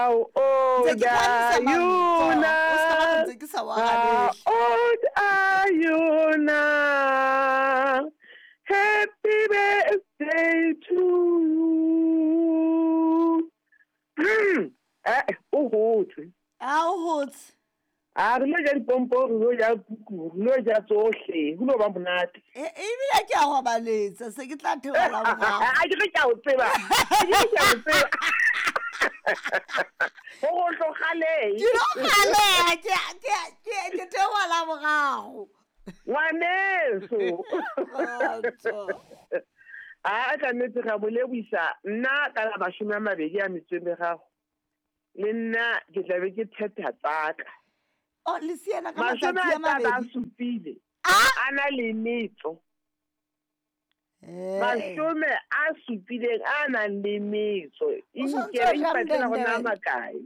How old are you now? How old are you now? Happy birthday to you. Hmm. Eh, o hotse. A o hotse. A re lo ja dipompo, re lo ja kuku, re lo ja tsohle, go lo ba monate. E ebile ke a gobaletsa, se ke tla theola morago. A ke re ke a o tseba. Ke re ke a o tseba. Go go tlogaleng. Ke no galega, ke ke ke ke theola morago. Ngwaneso. A ka nnete ga boleboisa nna ka la 28 le nna ke tla be ke thetha tsaka. O le siana ka matsatsi a mabedi. A supile. A na le metso. 70 a nang le metso. E nkere ipatlela go nna makae.